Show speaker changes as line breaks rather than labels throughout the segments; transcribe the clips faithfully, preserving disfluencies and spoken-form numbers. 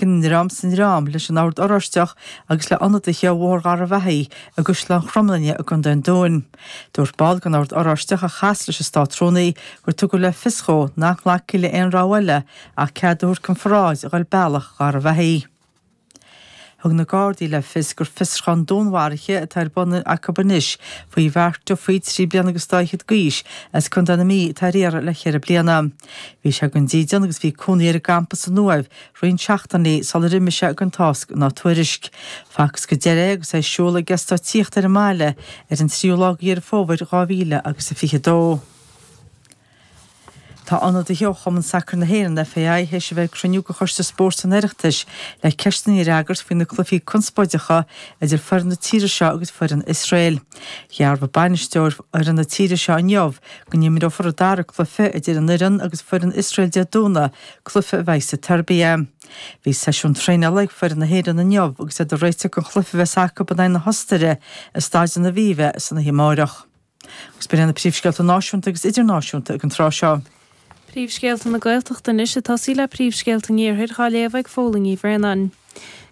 I ndream sa ndream leis an Ord Oráisteach agus le ionadaithe ó Bhóthar Gharbhachaidh i gCaisleán Chromghlinne i gContae an Dúin. Dúirt ball den Ord Oráisteach a chas leis an Státrúnaí gur tugadh le fios dhó nach nglacfaí le aon rogha eile ach cead a thabhairt don pharáid a dhul bealach Gharbhachaidh. Thug na Gardaí le fios gur fiosrúchán dúnmharaithe atá ar bun acu anois faoi Mhark Duffy, trí bliana agus dá fhichead d'aois, as Contae na Mí atá ar iarraidh le ceithre bliana. Bhí sé gan dídean agus bhí cónaí air i gcampa san Uaimh roinnt seachtainí sular imigh sé gan tásc ná tuairisc. Facthas go deireadh é agus é ag siúl ag eastát tithíochta ar an mbaile ar an tríú lá de Dheireadh Fómhair dhá mhíle agus a fiche dó. Tá ionadaithe ó Chumann Sacair na hÉireann, FAI, théis a bheith ag cruinniú de Choiste Spóirt an Oireachtais le ceisteanna a fhreagairt faoi na cluichí conspóideacha idir foireann na tíre seo agus foireann Iosrael. Dhearbhaigh bainisteoir fhoireann na tíre seo inniu go n-imreofar an dara cluiche idir an fhoireann agus foireann Iosrael Dé Domhnaigh, cluiche a bheidh sa tSeirbia. Bhí seisiún traenála ag foireann na hÉireann inniu agus iad ag réiteach don chluiche a bheas acu in aghaidh na hOstaire i Staid an Aviva san oíche amárach. Agus b'in iad na príomhscéalta náisiúnta agus idirnáisiúnta ag an tráth seo.
Príomhscéalta na Gaeltachta anois ag tosaí le príomhscéalta an Iarthair dhá léamh ag Fódhla Ní Bhraonáin.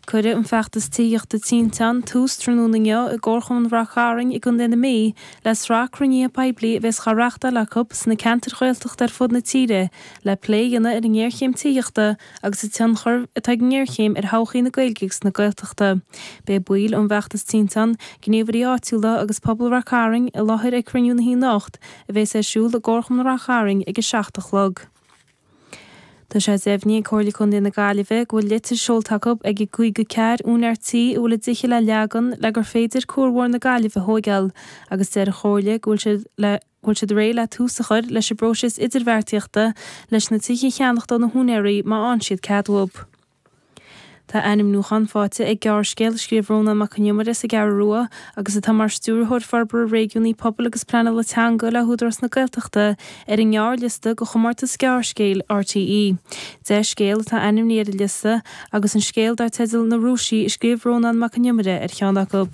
Cuireadh an feachtas tithíochta Tinteán tús tráthnóna inniu i gComharchumann Rath Cairn i gContae na Mí le sraith cruinnithe poiblí a bheas á reáchtáil acu sna ceantair Ghaeltachta ar fud na tíre le plé a dhéanamh ar an ngéarchéim tithíochta agus an tionchar atá ag an ngéarchéim ar thodhchaí na Gaeilge agus na Gaeltachta. Beidh baill ón bhfeachtas Tinteán, gníomhairí áitiúla agus pobal Rath Cairn i láthair ag cruinniú na hoíche anocht a bheas ar siúl i gComharchumann Rath Cairn ag a seacht a chlog. Tá sé deimhnithe ag Comhairle Contae na Gaillimhe go bhfuil litir seolta acu ag an gcaoga ceathair úinéir tí a bhfuil a dtithe le leagan le gur féidir Cuar Mhór na Gaillimhe a thóigeáil agus deir an Chomhairle go bhfuil siad le go bhfuil siad réidh le tús a chur leis an bpróiseas idirbheartaíochta leis na tithe a cheannach do na húinéirí má fhaigheann siad cead uathu. Tá ainmniúchán faighte ag gearrscéal a scríobh Rónán Mac Con Iomaire as an gCeathrú Rua agus atá mar Stiúrthóir Forbartha Réigiúnaí Pobail agus Pleanála Teanga le hÚdarás na Gaeltachta ar an ngearrliosta do chomórtas gearrscéil RTÉ. Deich scéal atá ainmnithe ar an liosta agus an scéal dar teideal Na Rúisigh a scríobh Rónán Mac Con Iomaire ar cheann acu.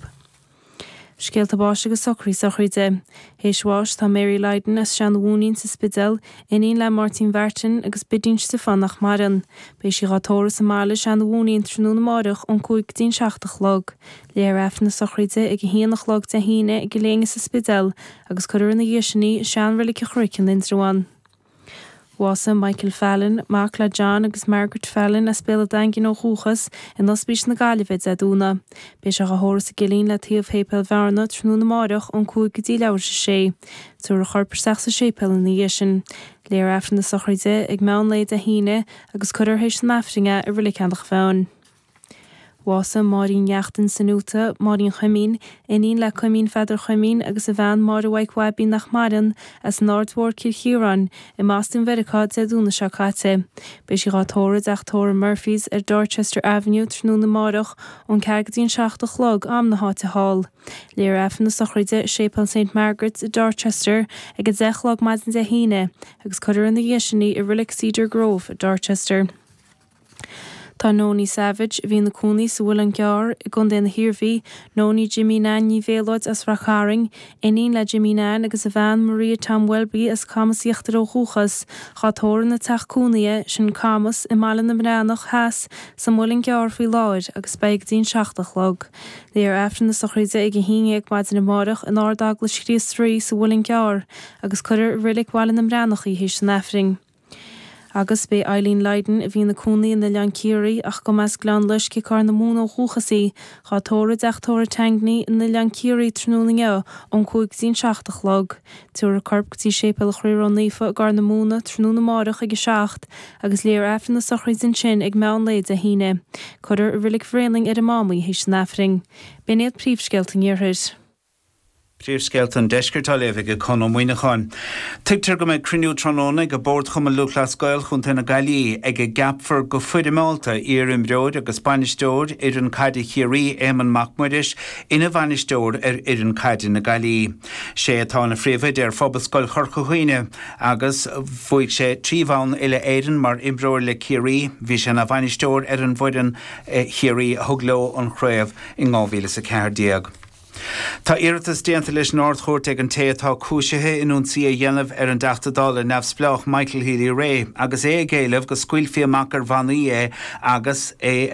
Scéalta báis agus socruithe sochraide. Théis bháis tá Mary Lydon as Seanadh Mhúinín sa Spidéal, iníon le Máirtín Mhartin agus Bidín Stiofán nach maireann. Beidh sí dhá tórramh sa mbaile i Seanadh Mhúinín tráthnóna amáireach ón cúig go dtí an seacht a chlog. Léifear Aifreann na sochraide ag a haon a chlog Dé hAoine i gCill Éinne sa Spidéal agus cuirfear ina dhiaidh sin í i Sean-Reilig an Chnoic in Indreabhán. Bhásaigh Michael Fallon, mac le John agus Margaret Fallon as Béal an Daingin ó dhúchas, in Ospís na Gaillimhe Dé Domhnaigh. Beidh sé dhá thórramh sa gCillín le taobh Shéipéal Bhearna tráthnóna amáireach ón cúig go dtí leathuair tar éis a sé. Tabharfar a chorp isteach sa séipéal ina dhiaidh sin. Léifear Aifreann na sochraide ag meán lae Dé hAoine agus cuirfear théis an Aifrinn é i Reilig Eanach Mheáin. Bhásaigh Máirín Neachtain san Úta, Máirín Chuimín, iníon le Cuimín Pheadair Chuimín agus a bhean Máire Mhaidhc Bhaibín nach maireann, as an Aird Mhór Cill Chiaráin, i mBoston Mheiriceá Dé Domhnaigh seo caite. Beidh sí dhá tórramh i dteach tórraimh Murphy's ar Dorchester Avenue tráthnóna amáireach ón ceathair go dtí an seacht a chlog, am na háite thall. Léifear Aifreann na sochraide i Séipéal Saint Margaret's i Dorchester ag a deich a chlog maidin Dé hAoine agus cuirfear ina dhiaidh sin í i Reilig Cedar Grove i Dorchester. Tá Nonie Savage, a bhí ina cónaí sa Mhuileann gCearr i gContae na hIarmhí, Nonie Jimmy Nan Ní Mhéalóid as Rath Cairn, iníon le Jimmy Nan agus a bhean Maria Tom Welby as Camas Íochtar ó dhúchas, dhá tórramh ina teach cónaithe, sin Camas, i mBaile na mBreathnach Theas, sa Mhuileann gCearr faoi láthair agus beidh go dtí an seacht a chlog. Léifear Aifreann na sochraide ag a haon dhéag maidin amárach in Ard-Eaglais Chríost Rí sa Mhuileann gCearr agus cuirfear i Reilig Bhaile na mBreathnach í théis an Aifrinn. Agus b'é Eileen Lydon a bhí ina cónaí in Oileán Ciarraí ach go mba as Gleann Loiscthe Corr na Móna ó dhúchas í, dhá tórramh i dteach tórraimh Tangney in Oileán Ciarraí tráthnóna inniu ón cúig go dtí an seacht a chlog. Tabharfar a corp go dtí Séipéal an Chroí Ró-Naofa i gCorr na Móna tráthnóna amárach ag a seacht agus léifear Aifreann na sochraide ansin ag meán lae Dé hAoine. Cuirfear i Reilig Bhréanainn ar an Mám í théis an Aifrinn. B'in iad príomhscéalta an Iarthair.
Príomhscéalta an Deiscirt á léamh ag Conn Ó Muíneacháin. Tuigtear go mbeidh cruinniú tráthnóna ag Bord Chumann Lúthchleas Gael Chontae na Gaillimhe ag a gceapfar go foirmeálta iar-imreoir agus bainisteoir fhoireann caide Chiarraí Éamonn Mac Muiris ina bhainisteoir ar fhoireann caide na Gaillimhe. Sé atá ina phríomhoide ar Phobalscoil Chorca Dhuibhne agus bhuaigh sé trí bhonn uile-Éireann mar imreoir le Ciarraí. Bhí sé ina bhainisteoir ar an bhfoireann Chiarraí a thug leo an chraobh in dhá mhíle is a ceathair déag. Tá iarratas déanta leis an Ard-Chúirt ag an té atá cúisithe in ionsaí a dhéanamh ar an dTeachta Dála neamhspleách Michael Healy-Rae agus é ag éileamh go scaoilfí amach ar bhannaí é agus é